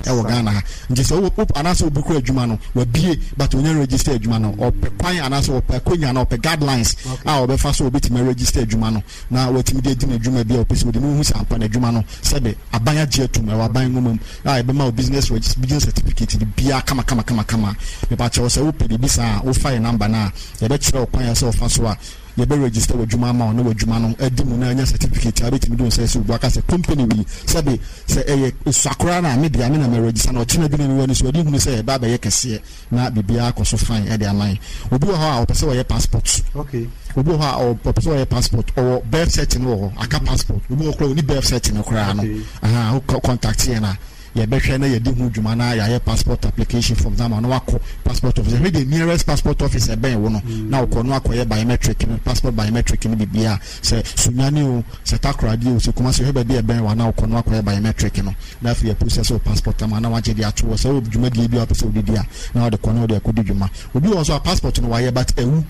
ɛwɔ Ghana ha. Nti sɛ wo anaasɛ obi kura adwuma no wabie but onya register adwuma no, ɔpɛ kwan anaasɛ ɔpɛ akonya na ɔpɛ guidelines a ɔbɛfa so obetumi register adwuma no na watumi de adi n'adwuma bi a ɔpɛ sɛ ɔdi na ohu sɛ ampa n'adwuma no sɛbe aban agye atum ɛwɔ aban nwoma mu a ɛbɛma wo business register business certificate de biara kama kama kama kama. Mepakyɛw sɛ wopɛ biribi saa a wofa yɛ number no a yɛbɛkyerɛ wo kwan a ɛsɛ ɔfa so a yɛbɛ register w'adwuma ama wo na w'adwuma no adi mu na anya certificate a wobɛtumi de wo nsa asi wo bo aka sɛ company wei sɛbe sɛ ɛyɛ esua koraa na me dea me na mɛ register na ɔkyena bi na mewɔ anisoade hunu sɛ ɛba abɛyɛ kɛseɛ na biribiara akɔ so fine ɛde ama yɛn. Obi wɔ hɔ a ɔpɛ sɛ ɔyɛ passport. Okay. Obi wɔ hɔ a ɔpɛ sɛ ɔyɛ passport ɔwɔ birth cert no wɔ hɔ aka passport. Obi wɔ hɔ koraa ɔni birth cert no koraa no. Aha wo contact yɛn a yɛbɛhwɛ na yɛdi ho dwuma na yɛayɛ passport application forms ama na wakɔ passport office. Yɛhwɛ the nearest passport office ɛbɛn wo no na wokɔ na wakɔyɛ biometric no passport biometric no biribiara sɛ Sunyani o sɛ Takoradi o sɛ Kumasi hwɛ baabi a ɛbɛn wo a na wokɔ na wakɔyɛ biometric no na afei yɛ process wo passport ama na wagye de ato hɔ sɛ wowɔ dwumadie bi a wopɛ sɛ wode di a na wode kɔ na wode akɔdi dwuma. Obi wɔ hɔ nso a passport no wayɛ but awu.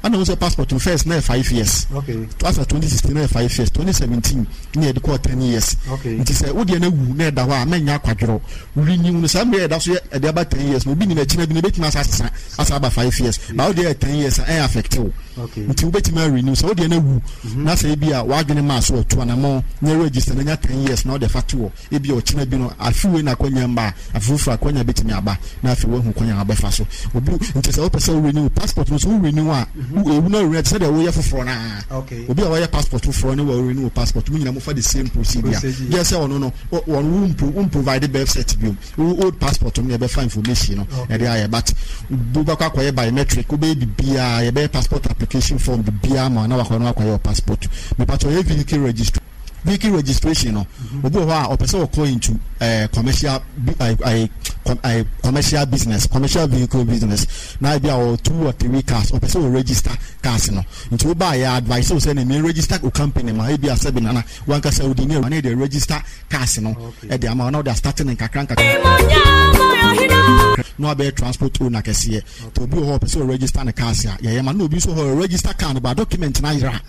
Ɛna wohu sɛ passport no first na yɛ 5 years. Asa 2016 na yɛ 5 years, 2017 na yɛde kɔɔ 10 years. Nti sɛ wodeɛ no awu na ɛda hɔ a mɛnyɛ akwadworɔ. Renew no saa mmerɛ yɛda so yɛ ɛde aba 10 years no obi nim akyina bi no ɛbɛtumi asa asesa asa aba 5 years. Ba wodeɛ yɛ 10 years a ɛyɛ affect wo. Nti wobɛtumi a renew sɛ wodeɛ no awu na sɛ ebi a w'adwene maa so atu anamɔn na register na nya 10 years na wode fa to hɔ. Ebia ɔkyena bi no, afe wei na akwannya mma a, afe foforɔ akwannya bɛtumi aba, na afei woahu kwan a wobɛfa so. Obi, nti sɛ wopɛ sɛ wo renew passport no nso, wo renew a, wo ewu na renew te sɛ deɛ woyɛ foforɔ no ara. Obi a wayɛ passport foforɔ ne wa renew passport, mo nyinaa mofa the same procedure. Gye sɛ ɔno no, wɔn wo mpo, wo provide birth cert biom. Wo old passport no na yɛbɛfa information no ɛde ayɛ, but wobɛkɔ akɔyɛ biometric, wobɛyɛ biribiara, yɛbɛyɛ passport application form biribiara ma wo na wakɔ na wakɔyɛ wo passport. Mepakyɛw yɛ vehicle registration. Vehicle registration no, obi wɔ hɔ a ɔpɛ sɛ ɔkɔ into eh, commercial eh, eh, commercial business, commercial vehicle business. Na ebi a ɔwɔ two or three cars, ɔpɛ sɛ ɔ register cars no. Nti wo ba yɛ advice wo sɛ ne me register o company ma ebi a sɛbi nana wankasa odi ne ne de register cars no ɛde ama na ɔde astart ne nkakra nkakra. Na wabɛyɛ transport owner kɛseɛ. Nti obi wɔ hɔ ɔpɛ sɛ ɔ register ne cars a yɛyɛ ma na obi nso hɔ register car no ba document no ayera.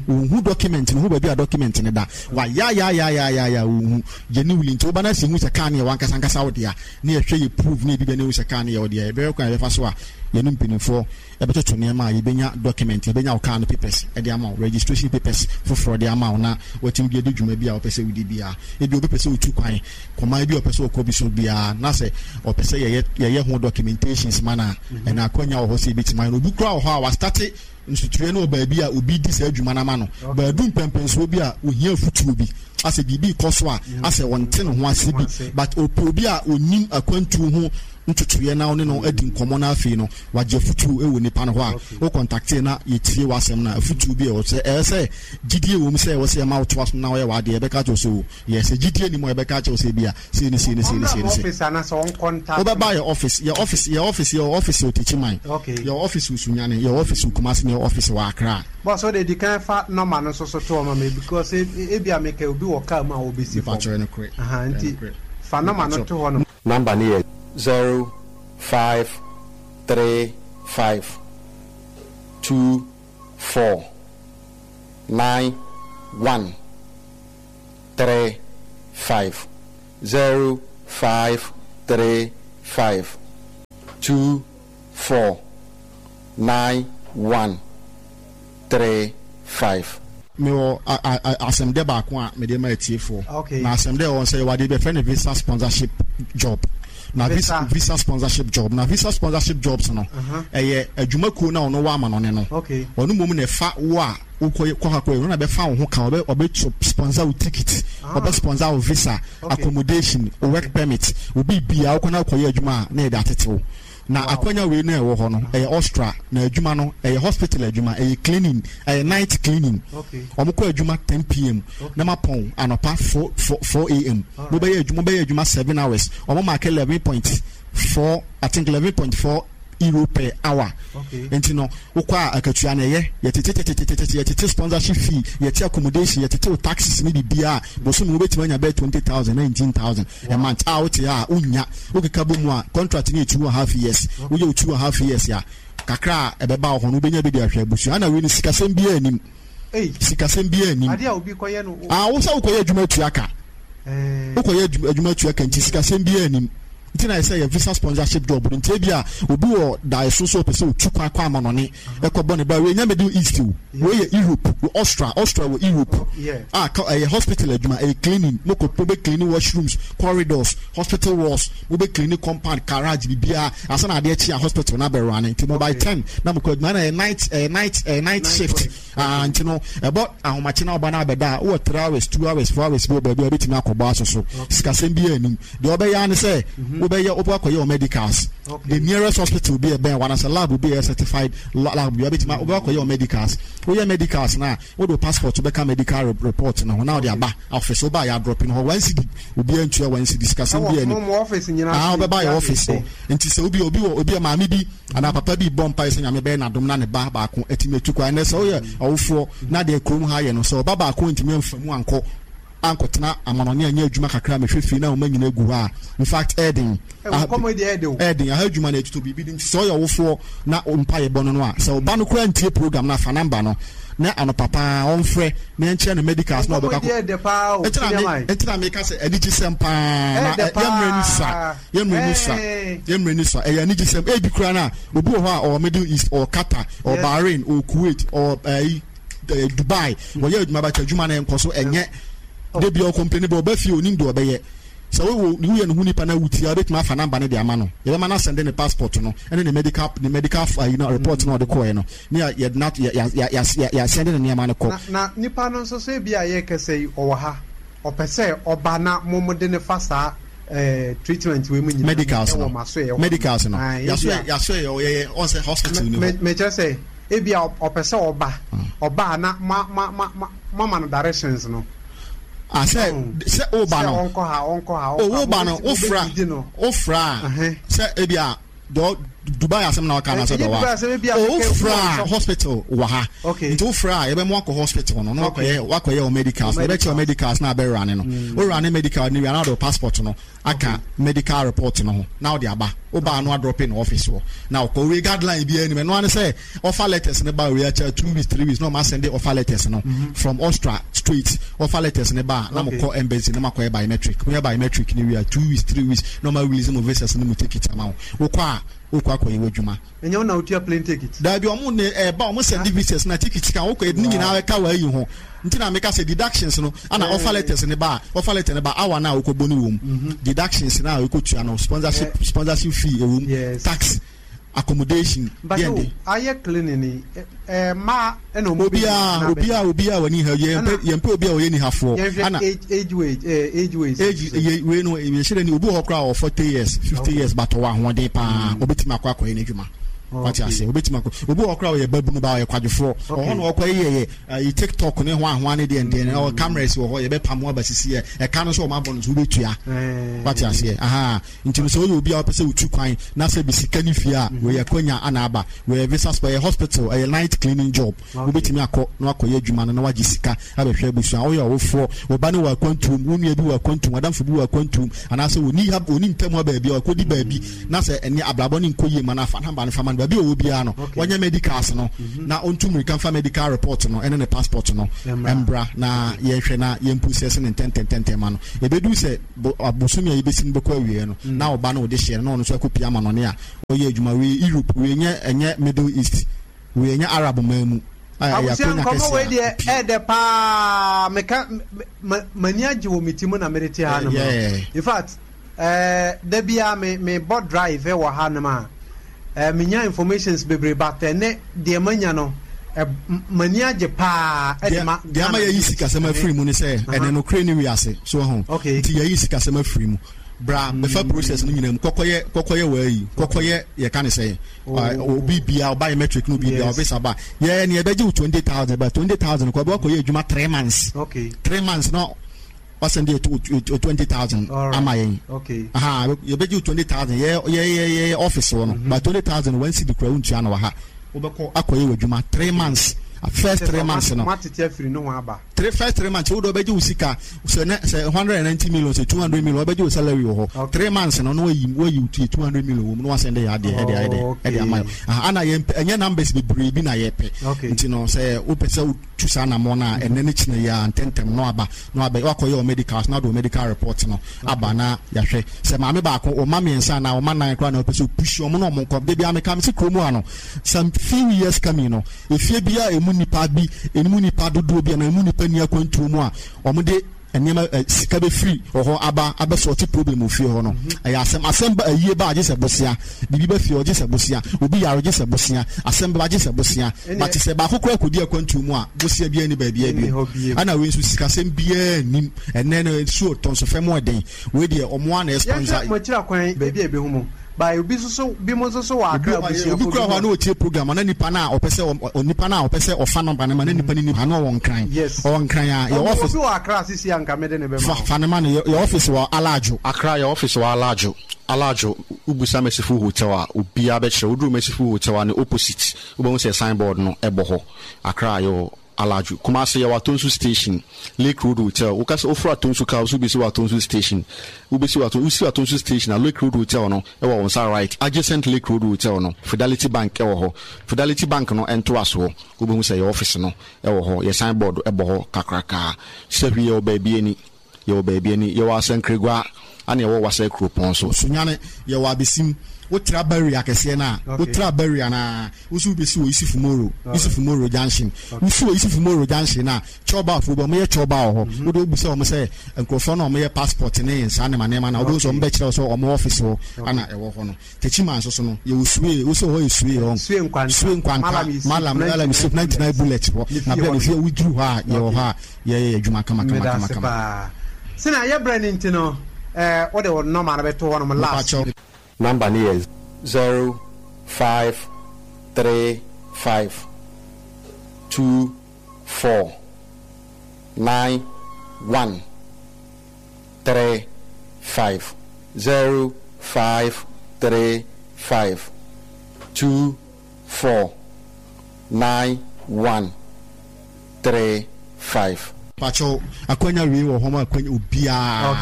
Wonhu document no, hu baabi a document no da. Wayayayayayaya wonhu. Genuinely nti woba na sɛ hu sɛ car no yɛ w'ankasa ankasa wo dea na yɛhwɛ yɛ prove na yɛbi bɛ na ehu sɛ car no yɛ wo dea yɛbɛhwɛ kwan a yɛbɛfa so a yɛne mpanimfoɔ ɛbɛtoto nneɛma a yɛbɛnya document yɛbɛnya wo car no papers de ama wo registration papers foforɔ de ama wo na watumi de adi dwuma bi a wopɛ sɛ wodi biara. Ebi obi pɛ sɛ otu kwan kɔman bi a ɔpɛ sɛ ɔkɔ bi so biara na sɛ ɔpɛ sɛ yɛyɛ yɛyɛ ho documentations ma no a ɛna akwanya wɔ hɔ sɛ yɛbɛtumi ayɛ no. Obi koraa wɔ hɔ a wastate Nsutuiɛ no wɔ baabi a obi di saa adwuma no ama no. Baadu mpɛnpɛnsoɔ bi a ohia afutuo bi, asɛ biribi rekɔ so a asɛ ɔnte ne ho ase bi, but ɔpɛ obi a ɔnim akwantuo ho ntotoeɛ na ɔne no adi nkɔmmɔ na afei no wagye afutuo wɔ nipa no hɔ a, wo kɔntakte na yɛtie w'asɛm no a, afutuo bi a ɛwɔ sɛ ɛyɛ sɛ gyidie wɔ mu sɛ ɛwɔ sɛ yɛma wotoa so na woyɛ w'adeɛ, yɛbɛka akyerɛ wo sɛ o, yɛ sɛ gyidie nni mu a yɛbɛka akyerɛ wo sɛ ebia sei ne sei ne sei ne sei ne sei. Wobɛba yɛ office, yɛ office, yɛ office, yɛ office wɔ Techiman, yɛ office wɔ Sunyani, yɛ office wɔ Kumasi, na yɛ office wɔ Accra. Boss, wo de di kan fa number no nso so to hɔ ma me because ebi a meka obi wɔ car mu a ɔbɛsi fam. Mepakyɛw, ɛnokorɛ, Aha, nti ɛnokorɛ. fa number no Mepakyɛw. to hɔ nom. Number no yɛ 0535 24 91. 3 5 0 5 3 5 2 4 9 1 3 5. Mewɔ asɛmdɛ baako a mede ma atiefoɔ. Okay. Na asɛmdɛ ɛwɔ sɛ yɛwɔ adeɛ bi yɛfrɛ no visa sponsorship job. Na visa visa sponsorship job. Na visa sponsorship jobs no, ɛyɛ adwumakuo no a ɔno wɔ amanɔne no. Okay. Ɔno mmom na ɛfa wo a wokɔ kɔ ha kɔ ɔno na bɛfa wo ho ka ɔbɛ ɔbɛ sponsor wo ticket ɔbɛ sponsor wo visa accommodation wo work permit wo biribiara wokɔ na wokɔyɛ adwuma a na yɛde atete wo na akwanya wei na ɛwɔ hɔ no ɛyɛ Austria na adwuma no ɛyɛ hospital adwuma ɛyɛ cleaning ɛyɛ night cleaning wɔn kɔ adwuma 10 pm na ma pɔn anɔpa 4 4 4 am mo bɛyɛ adwuma mo bɛyɛ adwuma 7 hours wɔn mark 11.4 I think 11.4 euro per hour nti no wokɔ a akatua no ɛyɛ yɛtetetetetete yɛtete sponsorship fee yɛte accommodation yɛtete wo taxes ne biribiara bosome wobɛtumi anya bɛyɛ 20,000 19,000 a month a wote a wonya wokeka bɔ mu a contract no yɛ 2.5 years woyɛ wo 2.5 years a kakra a ɛbɛba wɔ hɔ no wobɛnya bi de ahwɛ abusua ana wei no sikasɛm biara anim sikasɛm biara anim Adeɛ a obi kɔyɛ no. A wo sɛ wokɔyɛ adwuma atua ka. Wokɔyɛ adwuma tua ka nti sikasɛm biara nnim. Nti na ɛsɛ yɛ visa sponsorship job no. Nti ebia obi wɔ daeɛso sɛ ɔpɛ sɛ ɔtu kwan kɔ amanɔne ɛkɔ bɔ ne bra. Wei nyɛ Middle East o. Wei yɛ Europe, Austria, Austria wɔ Europe. A ka ɛyɛ hospital adwuma, ɛyɛ cleaning. Mokɔ mobɛ cleaning washrooms, corridors, hospital walls, mobɛ cleaning compound, garage, biribiara. Ansa na adeɛ kye a hospital no abɛ running. Nti mo by 10 na mokɔ adwuma. Ɛna ɛyɛ night, ɛyɛ night, ɛyɛ night shift. Ah, nti no, ɛbɔ ahomakye na ɔba no abɛda a, wowɔ 3 hours, 2 hours, 4 hours bi wɔ baabi a wobɛtumi akɔbɔ aso so. Sikasɛm biara nnim. Deɛ wobɛyɛ ara ne sɛ, mhm. wobɛyɛ wobɛkɔ akɔyɛ wɔ medicals. The nearest hospital bi ɛbɛn wo anaasɛ lab bi a ɛyɛ certified lab bi wobɛtumi wobɛkɔ akɔyɛ wɔ medicals. Woyɛ medicals no a, wode wo passport bɛka medical report no ho na wode aba office. Woba a yɛadrɔpe no hɔ one cedi, obiara ntua one cedi. Sikasɛm biara nnim. Ah, wobɛba yɛ office hɔ. Nti sɛ obi obi wɔ obi a maame bi Anaa papa bi rebɔ mpae sɛ Nyame bɛyɛ no adom na ne ba baako atumi atu kwan. Ɛnnɛ sɛ woyɛ ɔwofoɔ na deɛ kurom ha yɛ no, sɛ ɔba baako antumi amfa mu ankɔ ankɔtena amanɔne anyɛ adwuma kakra mehwɛ fie na wɔn nyina gu hɔ a, in fact ɛyɛ den. Ɛyɛ den. Aha adwuma no ɛtotɔ biribi de nti sɛ woyɛ ɔwofoɔ na mpaeɛ bɔ no no a, sɛ ɔba no koraa ntie program no a, fa number no na anɔpa paa ɔmfrɛ na yɛnkyerɛ no medicals na ɔbɛkɔ akɔ. Ɛnti na meka sɛ anigyesɛm paa na yɛmmerɛ no sua. Yɛn mmerɛ ni sua. Yɛn mmerɛ ni sua. Ɛyɛ anigyesɛm. Ebi koraa no a, obi wɔ hɔ a ɔwɔ Middle East, ɔwɔ Qatar, ɔwɔ Bahrain, ɔwɔ Kuwait, ɔwɔ ɛyi eh, Dubai. Wɔyɛ adwuma bɛkyɛ adwuma no nkɔ so ɛnyɛ. De bi ɔkɔmpleni bɛ ɔba fie onim deɛ ɔbɛyɛ. Sɛ wo woyɛ ne ho nipa na wotia wobɛtumi afa namba no de ama no. Yɛbɛma no asɛnde ne passport no ɛne ne medical ne medical ayi no report no ɔde kɔɛ no ne yɛ yɛ yɛ yɛ yɛ yɛasɛnde ne nneɛma no kɔ. Na na nipa no nso so ebi a yɛrekasa yi ɔwɔ ha. Ɔpɛ sɛ ɔba na mo mo de no fa saa eh, treatment wei mu nyinaa medicals ɛwɔ no mo asoɛeɛ hɔ. Medicals no. Ae, Yaso ebia. yaso yɛ yɛ yɛ ɔn sɛ hospital ni Me hɔ. me kyerɛ sɛ ebia ɔpɛ sɛ ɔba ɔba a na ma ma ma ma moama no directions no. Ah sɛ Ɔho sɛ woba sɛ no. ɔnkɔ ha ɔnkɔ ha O ɔnkɔ ha woba no mobɛ wofra mobɛdidi no. wofra a Ɛhɛn. sɛ ebia dɔ Dubai asɛm na ɔka na sɛ Ɛnyɛ dɔ wa Dubai asɛm ebia o mekɛ wofra wowɔ a nshop. hospital wɔ ha Okay. nti wofra a yɛbɛma wakɔ hospital no na Okay. wakɔyɛ wakɔyɛ wo medicals Wo na yɛbɛkyɛ wo medicals. medicals na abɛwura ne no wowura ne medical no wie a na wode wo passport no aka Okay. medical report no ho na wode aba wobaa no adrɔpe no office hɔ na wokɔ wei guideline biara anim ɛno ara ne sɛ offer letters no ba wei akyɛ 2 weeks 3 weeks na ɔma send offer letters no from Austria straight offer letters no ba a na Okay. mokɔ embassy na makɔyɛ biometric moyɛ biometric no wie a 2 weeks 3 weeks na ɔma release mo visas no mu ticket ama wo wokɔ a wokɔ akɔyɛ w'adwuma. Ɛnyɛ wo na wotua plane ticket? Daabi ɔmo ne ɛba ɔmo send visas na ticket ka wokɔ ne nyinaa ɛka w'ayi ho nti na meka sɛ deductions no ana offer letters ne ba a offer letter ne ba hour na wokɔ bɔ ne wɔm deductions na wokɔ tua no sponsorship sponsorship fee ɛwom Yes. tax accommodation But deɛ o de ayɛ cleaning yi ɛ mmaa ɛna ɔmo bɛ obiara anaa bɛrima? obiara obiara wɔ ni ha yɛn pɛ Ɛna yɛn pɛ obiara ɔyɛ nihafoɔ yɛnhwɛ ana age age wage ɛɛ age ways age nso sɛ. yɛ wei no yɛhyɛ dɛ ni obi wɔ hɔ koraa ɔwɔ 40 years 50 Okay. years but ɔwɔ ahoɔden paa obetumi akɔ akɔyɛ n'adwuma wate Okay. ase obetumi akɔ obi wɔ hɔ koraa ɔyɛ babunu ba ɔyɛ kwadwofoɔ ɔhɔ Okay. na ɔkɔ yɛ yɛ ɛyi tiktok ne ho ahoa ne deɛ deɛ ɔwɔ cameras wɔ hɔ yɛbɛpam aba sisi yɛ ɛka no nso ɔmo abɔ no nso wobɛtua wate aseɛ aha nti no sɛ woyɛ obi a wopɛ sɛ wotu kwan na sɛ bi sika ne fie a wɔyɛ akwanya ana aba wɔyɛ visa spɔ ɛyɛ hospital ɛyɛ night cleaning job wobɛtumi akɔ na wakɔyɛ adwuma no na wagye sika abɛhwɛ abusua woyɛ ɔwofoɔ wo ba no wɔ akwantuom wo nua bi wɔ akwantuom adamfo bi wɔ akwantuom anaasɛ wɔni ha wɔni ntam ha baabi a wakɔdi baabi na sɛ ɛne abrabɔ ne nkɔ yie ma no afa namba no fa ma no baabi a ɔwɔ biara no wɔnyɛ medicals no na ɔntu mmirika mfa medical report no ɛne ne passport no mbra na yɛhwɛ na yɛn process ne ntɛntɛntɛntɛn ma no ɛbɛdu sɛ bosome a yɛbɛsi no bɛkɔ awieɛ no na ɔba no wɔde hyɛ no na ɔno nso akɔpia ama no ne a ɔyɛ adwuma wei Europe wei nyɛ ɛnyɛ Middle East wei ɛnyɛ Arab man mu a ɛyɛ Abusua akɔnya nkɔmɔ kɛseɛ wei a deɛ ɛpie ɛɛdɛ paa meka m'ani agye wɔ me ti mu na mede te ha nom no in fact ɛɛ da biara me me bɔ drive wɔ ha nom a ɛɛ menya informations bebree but ɛnɛ deɛ manya no ɛ m'ani agye paa ɛde ma deɛ ama Ghana yɛyi youth sikasɛm ɛne afiri mu ne sɛ ɛnɛ nokorɛ ne wiase so ho okay nti yɛyi sikasɛm afiri mu bra bɛfa process no nyinaa mu kɔkɔyɛ kɔkɔyɛ wɔayi kɔkɔyɛ yɛka ne sɛ obi bia biometric no obi bia yes ɔbɛsa ba yɛ ne yɛbɛgye wo 20,000 ba 20,000 kɔ bɛkɔyɛ adwuma 3 months okay 3 months na wasɛn de 20,000 all ama right yɛn okay aha yɛbɛgye wo 20,000 yɛ yɛ yɛ yɛ office wɔ no ba 20,000 one cedi kura wontua no wɔ ha wobɛkɔ akɔyɛ w'adwuma 3 months first kyɛ sɛ 3 months no ɔmo atete afiri ne ho aba. Three first 3 months wo de ɔbɛgye wo sika sɛ ne sɛ 190 million, sɛ 200 million, ɔbɛgye wo salary wɔ hɔ 3 months no na wayi wo tie 200 million wɔ mu na wasɛn de yɛ adeɛ ɛde ayɛ dɛ ɛde ama yɛ. Aha, ana yɛn ɛnyɛ numbers bebree bi na yɛpɛ. Nti no sɛ wopɛ sɛ wotu saa anammɔ no a, ɛnɛ ne kyina yi a ntɛntɛm na waba na wabɛ wakɔyɛ wɔ medicals na wode wɔ medical report no aba na yɛahwɛ sɛ maame baako, ɔma mmiɛnsa anaa ɔma nan koraa na wopɛ sɛ opush ɔmo na ɔmo nkɔ. De bia meka me sɛ kurom ha no, some few years coming no, efie bi a emu nipa bi, emu nipa dodoɔ bi anaa emu nipa ni akwantuo mu a ɔmo de nneɛma sika bɛfiri wɔ hɔ aba abɛsɔɔte problem wɔ fie hɔ no, ɛyɛ asɛm ba ayie ba agye sɛ bosia, biribi ba fie ɔgye sɛ bosia, obi yare ɔgye sɛ bosia, asɛm ba agye sɛ bosia. But sɛ baako koraa kɔdi akwantuo mu a, bosia biara ni baabi bio. Ɛna wei nso sikasɛm biara nim. Ɛnɛ no nsuo tɔ nso fɛm ɛden. Wei deɛ ɔmo a na ɛsponsor. Yɛhwɛ mo akyira kwan baabi a ebehu mo ba, obi nso so bi mo nso so wɔ Akra abusuafo. Obi kura hɔ a na otie program na nipa na ɔpɛ sɛ nipa na ɔpɛ sɛ ɔfa number no ma na nipa ni nipa na ɔwɔ Nkran. Ɔwɔ Nkran a, yɛ office. Obi wɔ Akra sisi a nka mede ne bɛma. Fa fa ne ma no. Yɛ office wɔ Alajo. Akra, yɛ office wɔ Alajo. Alajo, wobusa Merciful Hotel a, obiara bɛkyerɛ. Woduru Merciful Hotel a, ne opposite wobɛhu sɛ signboard no ɛbɔ hɔ. Akra yɛwɔ Alajo. Kumasi yɛwɔ Atonsu Station, Lake Road Hotel. Woka sɛ woforo Atonsu car, wo so wobɛsi wɔ Atonsu Station. Wobɛsi wɔ Atonsu, wosi Atonsu Station a, Lake Road Hotel no ɛwɔ wo nsa right. Adjacent Lake Road Hotel no, Fidelity Bank ɛwɔ hɔ. Fidelity Bank no ɛntoa soɔ. Wobɛhu sɛ yɛ office no ɛwɔ hɔ. Yɛ signboard ɛbɔ hɔ kakrakaa. Sɛhwi yɛwɔ baabi ani. Yɛwɔ baabi ani. Yɛwɔ Asankragua, ana yɛwɔ Wasa Kuropɔn so. Sunyani, yɛwɔ Abesim. Wotra barrier kɛseɛ no a, wotra barrier no a, wo nso wobɛsi wɔ Yusufu Moro, Yusufu Moro Junction. Wosi wɔ Yusufu Moro Junction no a, kyɔbafoɔ bi, wɔyɛ kyɔba wɔ hɔ. Wode wobisa wɔn sɛ nkurɔfoɔ no a wɔyɛ passport ne saa nneɛma nneɛma no a, wobɛhu sɛ wɔbɛkyerɛ wo sɛ wɔn office hɔ ana ɛwɔ hɔ no. Techiman nso so no, yɛwɔ Sue, wo sɛ hɔ yɛ Sue hɔ. Sue Nkwanta. Sue Nkwanta, Malam Malam Yusuf 99 bullet hɔ. Na bɛn ne fie woduru hɔ a, yɛwɔ hɔ a yɛyɛ yɛ adwuma kama kama kama kama. Paa. Sɛnea yɛbrɛ no nti no, wode wo nɔma no bɛto hɔ nom last. Number no yɛ 0535 24 91 35, 0535 24 91 35. Pakyɛw, akwanya wei wɔ hɔ ma akwanya obiara.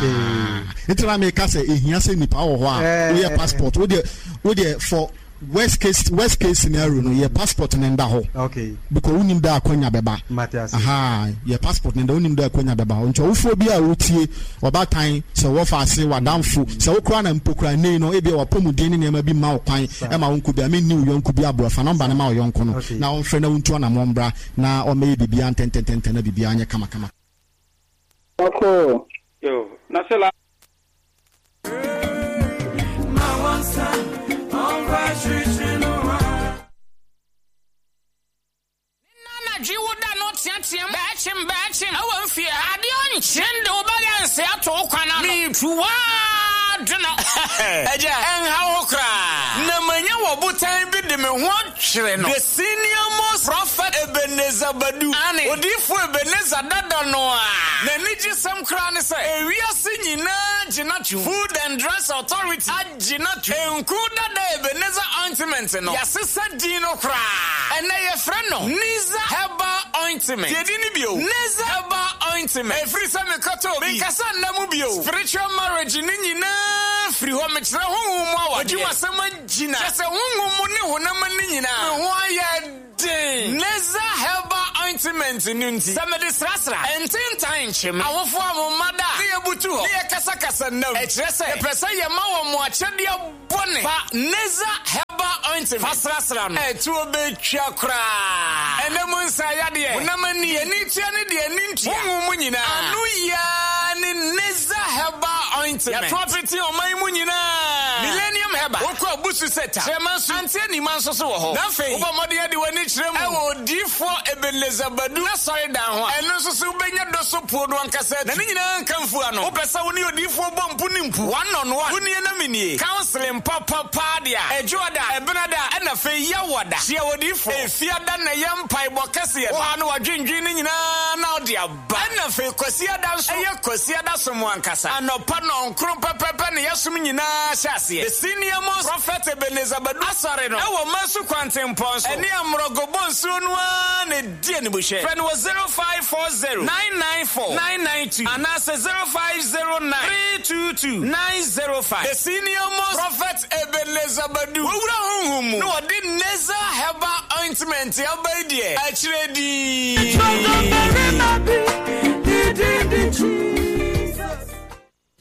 Nti na meka sɛ ehia sɛ nipa wɔ hɔ a woyɛ passport. Wo deɛ for worst case scenario no, yɛ passport ne nda hɔ. Because wonim da akwanya bɛba. Aha, yɛ passport ne da, wonim da akwanya bɛba hɔ. Nti ɔwofoɔ bi a wotie, ɔbaatan, sɛ wɔfa ase wadamfo, sɛ wokora na mpo kora nei no, ebia wapɔmuden ne nneɛma bi ma wo kwan ɛma wo nkɔ bi a menni wo yɔnko bi aboa, fa number no ma wo yɔnko no na ɔmfrɛ na wontu anammɔ mbra na ɔmmɛyɛ biribiara ntɛntɛntɛntɛn na biribiara nyɛ kamakama. Ɔkɔ. Yo, na sɛ la. Ma wansa, ɔnkɔ akyirikyiri no wa. Anadwo wo da no teateam bɛɛkyem bɛɛkyem ɛwɔ mfie adeɛ ɔnkyɛn de wo balance ato wo kwan ano meetu waa dwena. Agya, ɛnha wo koraa na manya wɔ botan bi de me ho atwere no, the senior most prophet Ebenezer Badu. Ane. Odiifo Ebenezer dada no a n'ani gye sɛm koraa ne sɛ ewiase nyinaa gyina to Food and Drugs Authority agyina to nku dada Ebenezer ointment no, yɛasesa din no koraa. Ɛnɛ yɛfrɛ no Niza Herbal Ointment. Yɛdi ne bio, Niza Herbal Ointment, ɛfiri sɛ mekɔtɔ bi menkasa nna mu bio. Spiritual marriage ne nyinaa firi hɔ. Mekyerɛ honhom mu awadeɛ, adwumasɛm agyina, kyɛ sɛ honhom mu ne honam ani nyinaa me ho ayɛ den Neza Herbal Ointment no nti, sɛ mede srasra ntentan nkyem awofoɔ a mo mma da a ne yɛbutu hɔ ne yɛkasakasa nnam, ɛkyerɛ sɛ yɛpɛ sɛ yɛma wɔ mo akyɛdeɛ bɔne. Fa Neza Herbal Ointment fa srasra no, ɛtuo bɛtwa koraa. Ɛnɛ mu nsa yadeɛ, honam ani, deɛ ani tua ne deɛ ani ntua, honhom mu nyinaa ano yiaa ne Neza Herbal Ointment. Yɛto apete ɔman mu nyinaa. Millennium Herbal, wokɔ Abusu Seta, Kyerɛma nso ante anima nso so wɔ hɔ. Na afei wobɔ mmɔden ade w'ani kyerɛ mu ɛwɔ Odiifoɔ Ebenezer Badu n'asɔredan ho a, ɛno nso so wobɛnya dɔ so puo no ankasa atu. Na ne nyinaa nka mfu ano. Wopɛ sɛ wo ne odiifoɔ bɔ mpu ne mpu, one on one, wonie na menie, counseling papapaa deɛ a, ɛdwoada, ɛbenada, ɛna afei yɛwɔda. Hyia odiifoɔ Efiada na ɛyɛ mpaebɔ kɛseɛ no. Wo ha no wadwendwen no nyinaa na wode aba. Ɛna afei Kwasiada nso ɛyɛ Kwasiada som ankasa anɔpa. Nɔnkron pɛpɛpɛ ne yɛsom nyinaa hyɛ aseɛ. The Senior Most Prophet Ebenezer Badu Asɔre no ɛwɔ Masu Kwantempɔn so ɛne Amorɔgo Bonsuo no ara na ɛdi animhwɛ. Frɛ no wɔ 0540 994 992 anaasɛ 0509 322 905. The Senior Most Prophet Ebenezer Badu wawura honhom mu na wɔde Neza Herbal Ointment aba yi deɛ akyerɛ dinn.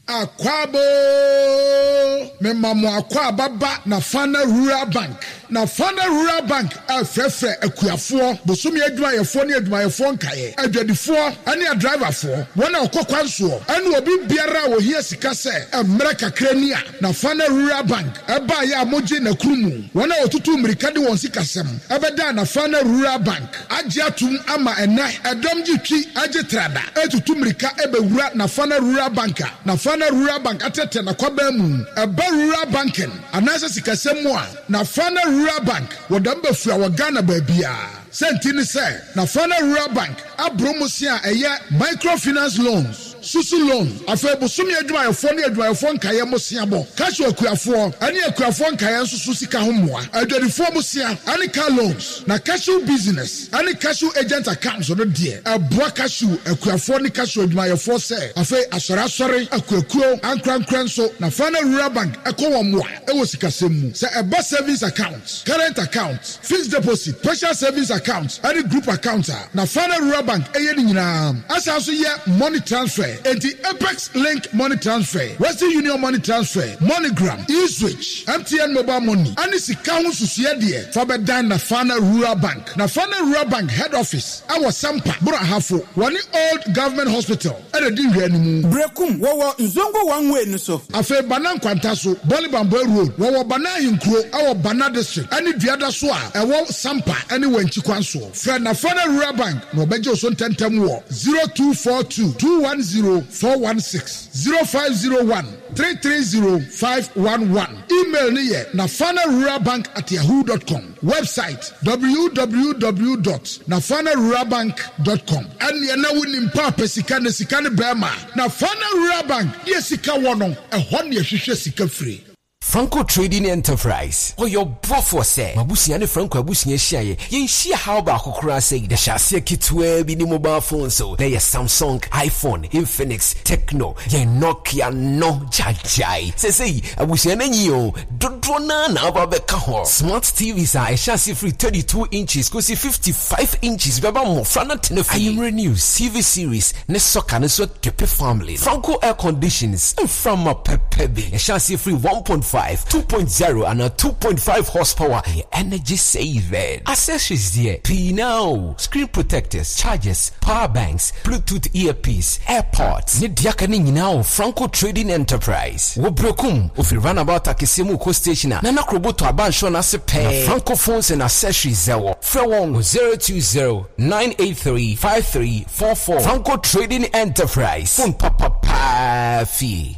Akwaaba oo, mema mo akwaaba ba Nafana Rural Bank. Nafana Rural Bank refrɛfrɛ akuafoɔ, bosome adwumayɛfoɔ ne adwumayɛfoɔ nkaeɛ, adwadifoɔ ne adriverfoɔ, wɔn a wɔkɔ kwan soɔ ne obi biara a ɔhia sika sɛ mmerɛ kakra ni a Nafana Rural Bank baeɛ a mogye n'akunu mu. Wɔn a wɔtutu mmirika de wɔn sikasɛm bɛdaa Nafana Rural Bank agye atom ama ɛnnɛ ɛdɔm gye twi gye trada retutu mmirika bɛwura Nafana Rural Bank a Nafana Rural Bank atrɛtrɛ n'akwaban mu. Ɛba rural banking anaasɛ sikasɛm mu a, Nafana Rural Bank wɔ dɛm bafua wɔ Ghana baabiara. Sɛnti ne sɛ Nafana Rural Bank aboro mmosea a ɛyɛ microfinance loans, susu loan, afei bosome adwumayɛfoɔ ne adwumayɛfoɔ nkaeɛ mmoseabɔ, cashew akuafoɔ ne akuafoɔ nkaeɛ nso so sika ho mmoa, adwadifoɔ mmosea ne car loans, na cashew business ne cashew agent accounts no deɛ ɛboa cashew akuafoɔ ne cashew adwumayɛfoɔ sɛ afei asɔre asɔre, akuakuo, ankorankorɛ nso Nafana Rural Bank kɔ wɔn mmoa wɔ sikasɛm mu sɛ ɛba savings account, current account, Fixed deposit, partial savings account ne group account a Nafana Rural Bank yɛ ne nyinaa. Ɛsan nso yɛ money transfer, enti Apex Link Money Transfer, Western Union Money Transfer, MoneyGram, E-Zwich, MTN Mobile Money ne sika ho nsusuiɛ deɛ fa bɛdan Nafana Rural Bank. Nafana Rural Bank head office wɔ Sampa, Boro Ahafo, wɔne Old Government Hospital na ɛdi nhwɛanimu. Berekum, wɔwɔ Nzongo one way no so. Afei Bana Nkwanta so, Bɔle Bamboe Road, wɔwɔ Bana Ahenkuro wɔ Bana District ne Duada so a ɛwɔ Sampa ne Wankyi kwan soɔ. Frɛ Nafana Rural Bank na wɔbɛgye wo so ntɛmntɛm wɔ 0242 210 416, 0501 330 511. Email no yɛ nafanaruralbank at yahoo dot com. Website, www dot nafana rural bank dot com. Ɛnneɛ na wonim paapa sika na sika ne bɛɛma. Nafana Rural Bank deɛ sika wɔ no, ɛhɔ na yɛhwehwɛ sika firi. Franco Trading Enterprise, Ɔyɛ ɔboafoɔ sɛ m'abusua ne Franco abusua hyiaeɛ, yɛnhyia haw baako koraa sɛi. Yɛhyɛ aseɛ ketewaa bi ne mobile phones o, na ɛyɛ Samsung, iPhone, Infinix, Tecno, yɛn Nokia no gyagyae. Seesei abusua no anyin o, Dodoɔ no ara na aba abɛka ho. Smart TVs a ɛhyɛ aseɛ firi 32 inches kɔsi 55 inches bɛba mmɔfra no atena fie. Anwummerɛ news, TV series, ne soccer no nso akepe family no. Franco air conditions, mframa pɛpɛ bi. Ɛhyɛ aseɛ firi 1.5, 2.0 anaa 2.5 horsepower. Ɛyɛ energy saving. Accessories deɛ, pii no ara o, screen protectors, chargers, power banks, Bluetooth earpiece, airpods, ne deɛ aka no nyinaa wɔ Franco Trading Enterprise. Wɔ Berekum, wofiri Runabout akɛseɛ mu rekɔ station a, Nana Krobo tɔ abansoro no ase pɛɛ na Franco Phones and Accessories wɔ. Frɛ wɔn wɔ 020 983 5344. Franco Trading Enterprise, phone papa paa fie.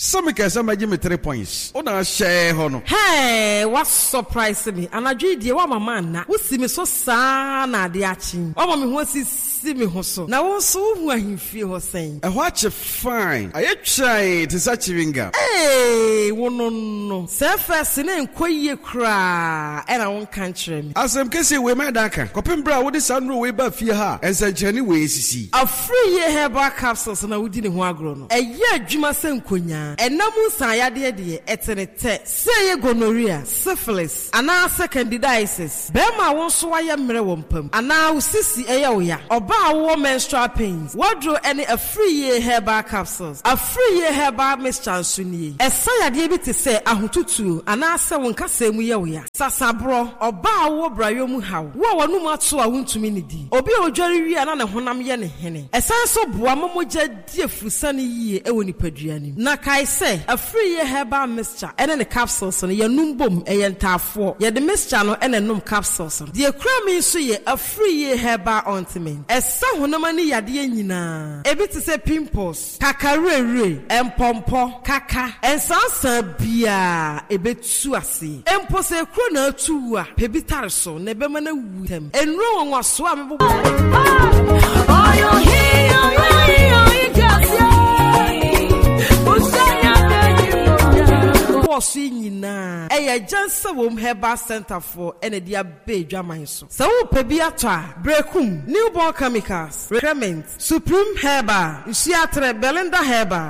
Sɛ me kɛɛ sɛ mɛgye me tre points wo na ahyɛɛ hɔ no. Hey, wa surprise me anadwo yi deɛ woama manna, wo si me so saa na adeɛ akye yi, woama me ho asisi me ho so, na wo nso wo hu ahemfie hɔ sɛn? Ɛhɔ akye fine, ayɛ twann te sɛ chewing gum. Hey, wo no no, sɛ first no ɛnkɔ yie koraa ɛna wo nka nkyerɛ me. Asɛm kɛseɛ wei mɛdan aka kɔpem berɛ a wode saa nnuro wei baa fie ha a nsɛnkyerɛnne wei asisi. Afriyie herbal capsules na wodi ne ho agorɔ no. Ɛyɛ adwuma sɛ nkonyaa. Ɛna mu nsaeyadeɛ deɛ, ɛte ne tɛ. Sɛ ɛyɛ gonorrhea, syphilis, anaasɛ candidiasis, barima a wo nso woayɛ mmerɛ wɔ mpa mu, anaa wo sisi yɛ wo ya, ɔbaa a wowɔ menstrual pains, w'aduro ne Afriyie Herbal Capsules. Afriyie Herbal Mixture nso nie. Ɛsa yadeɛ bi te sɛ ahotutuo anaasɛ wo nkasɛɛ mu yɛ wo ya, sasaborɔ, ɔbaa a wowɔ brayɔ mu haw, wo a w'anum ato a wontumi nnidi, obi a ɔdware wie a na ne honam yɛ no hene. Ɛsan nso boa ma mogya di afurusane yie wɔ nipadua no mu. Na kae sɛ, Afriyie Herbal Mixture ne ne capsules no, yɛnom bom, ɛyɛ ntaafoɔ. Yɛde mixture no na ɛnom capsules no. Deɛ ɛkura me nso yɛ Afriyie Herbal Ointment. Ɛsa honam ani yadeɛ nyinaa, ebi te sɛ pimples, kakawerɛwerɛ, mpɔmpɔ, kaka, nsansaa biara, ɛbɛtu aseɛ. Mpo sɛ ekuro na atu wo a, pɛ bi tare so na ɛbɛma no awu ntɛm. Nnuro nwanwasoɔ a mebobɔ. mebobɔɔ so yi nyinaa, ɛyɛ Agyansawom Herbal Centre foɔ na ɛde aba adwaman so. Sɛ worepɛ bi atɔ a, Berekum, Newborn Chemicals, Recrement, Supreme Herbal, Nsuaterɛ, Belinda Herbal.